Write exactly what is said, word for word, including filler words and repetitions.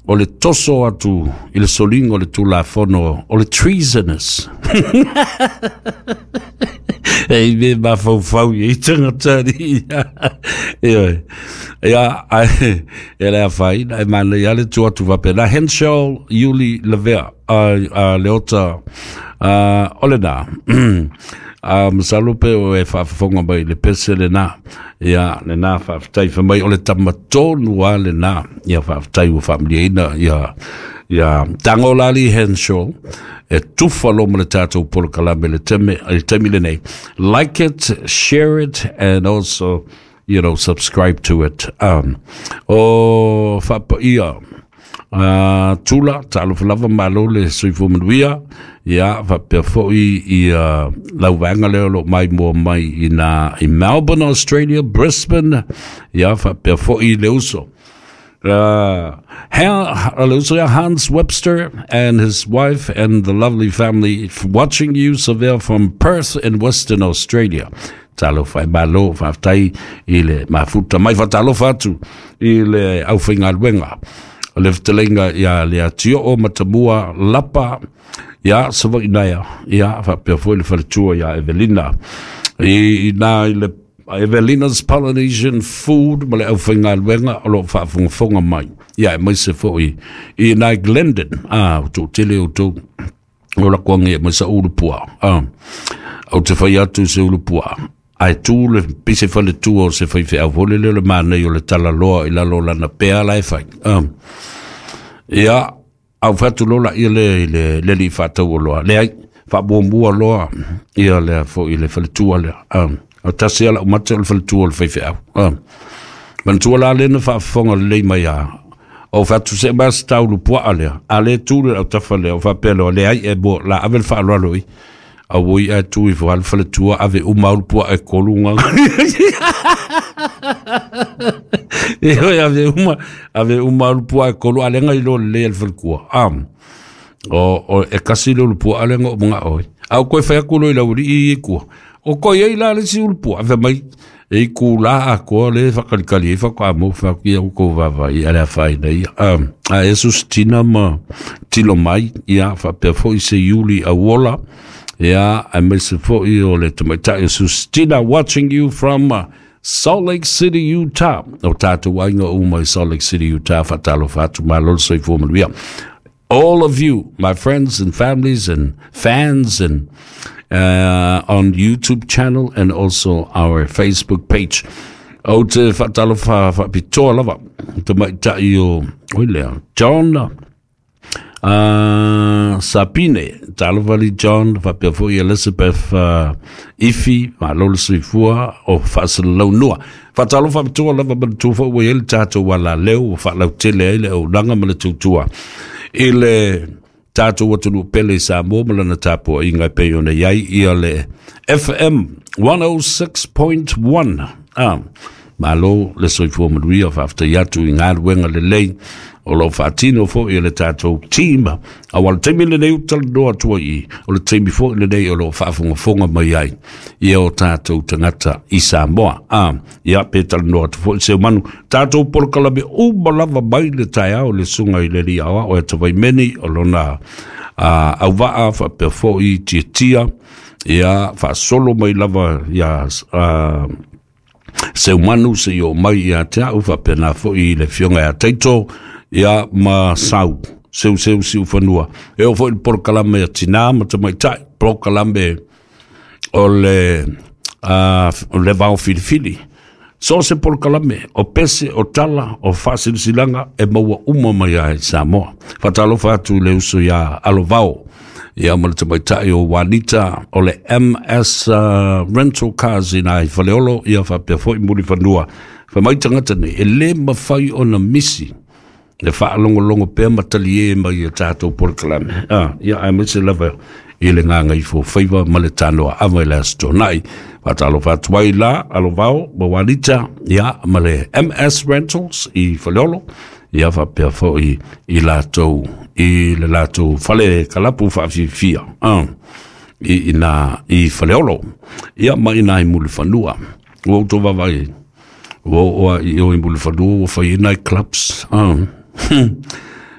O le toso atu i le soliga o le Tulafono o le treasonous. E i me mafaufau i tagata ia. Ioe. Ia, ai, e le afaina, e manaia le tu atu faapena. Henshaw Iuli Lavea, a, a Leota, a, o lena. A masalo pe o e faafofoga mai le pese lena. Ia, lena faafetai fa mai o le tamatonu a lena. Ia faafetai ua faamaliaina ia ia Tagolali Henshaw e tufa lo ma le tatou polokalame le teme le taimi lenei. Like it, share it, and also, you know, subscribe to it. Um, o faapaia uh, tula talofa lava, malo le soifua manuia. Ia faapea foi ia lauvaega lea o loo mai mua mai ina i Melbourne, Australia, Brisbane. Ia faapea foi le uso Uh, Hans Webster and his wife and the lovely family watching you, Savea, from Perth in Western Australia. Talofa e malo, faafetai i le mafuta mai. Faatalofa atu i le aufaigaluega o le fetalaiga ia le Atioo Matamua Lapa ia Savaʻi ia faapea foi le faletua ia Evelina i na i le Evelina's Polynesian Food ma le aufaigaluega o loo faafogafoga mai ia e maise foi i nai Glendon a o toʻatele outou o lakoagi e mai sa ulupua a ou te fai atu se ulupua ae tu le pise faletua o se faifeau fole lea o le manai o le talaloa i lalo o lana pea la e fai. Ah. Ia, au fatu lola ia le le le li faatau loa. Leai, faamuamua loa ia le foi le faletua lea. Ah. O tasi ala o mate o le faletua o le faifeau. Ah. Manatua la lena faafofoga lelei mai a. O fatu se mas taulu puaa lea. A le tu le au tafa lea o faapea loa leai e mo la ave le faaaloalo i. A ui a tu i fo al faletua ave uma ulu pua e kolu nga. E hoi ave uma, ave uma ulu pua e kolu a lenga i lo le al falekua. Am. O, o e kasi le ulu pua a lenga o mga oi. Au koe whai aku lo i lauri i i kua. O koe ei la le si ulu pua. Ave mai e i ku la a koa le whakalikali e whaka mo whaki au ko wawa i ale whai nei. Um, a Jesus tina ma tilo mai ia whapea foi se Iuli a wola. Ia, a mai se foi o le tamaitai o Sustina watching you from uh, Salt Lake City, Utah. O tātou ainga uma i Salt Lake City, Utah, whatalo whatu malo soifua manuia. All of you, my friends and families and fans and uh, on YouTube channel and also our Facebook page. O te whatalo wha whapitoa lava. Te maitai o, oi lea, John Uh, Sapine, talovali John, faapea foi Elizabeth uh, Ifi, malo le soifua o faasalalau. Faatalofa faapitoa lava manatua foi ua i ai le tatou alaleu ua faalautele ai le auaunaga ma le tautua i le tatou atunuu pele i Samoa ma lana tapuaiga e pei ona i ai ia le F M one oh six point one. Ah, malo le soifua manuia, faafetai atu i galuega lelei o loo faatino foi e le tatou team. Aua le taimi lenei u talanoa atua i o le taimi foi lenei o loo faafogafoga mai ai ia o tatou tagata i Samoa. A ia pe talanoa atu foi seu manu tatou polokalame uma lava mai le taeao le suga i le alii aoao e Tavaimeni o lona uh, auvaa faapea foi Tiatia ia faasolo mai lava ia uh, Seumanu se i o mai ia te au faapena foi le fioga ia Taito ia ma sau seu seu siu fanua e o foi le polokalame a tinā ma tamaitai, polokalame o le uh, le vao filifili. So se polokalame o pese o tala o faasilasilaga e maua uma mai ai Samoa. Faatalofa atu i le uso ia Alovao ia ma le tamaitai o Wanita o le M S uh, Rental Cars ina i Faleolo ia faapea foi Mulifanua. Fa mai tagata nei e lē mafai ona misi le faalogologo pea ma talie mai e tatou polokalame. Ah, ia ae maise lava i le gagaifo faiva ma le tanoa ava i le aso Tonaʻi. Faatalofa atu ai la Alovao ma Wanita ia ma le M S Rentals i Faleolo ia faapea foi i latou i le latou fale kalapu faafiafia ah, i ina i Faleolo ia ma ina i Mulifanua. Ua outou vaavaai ua oo i o i Mulifanua ua fai ai night clubs ah.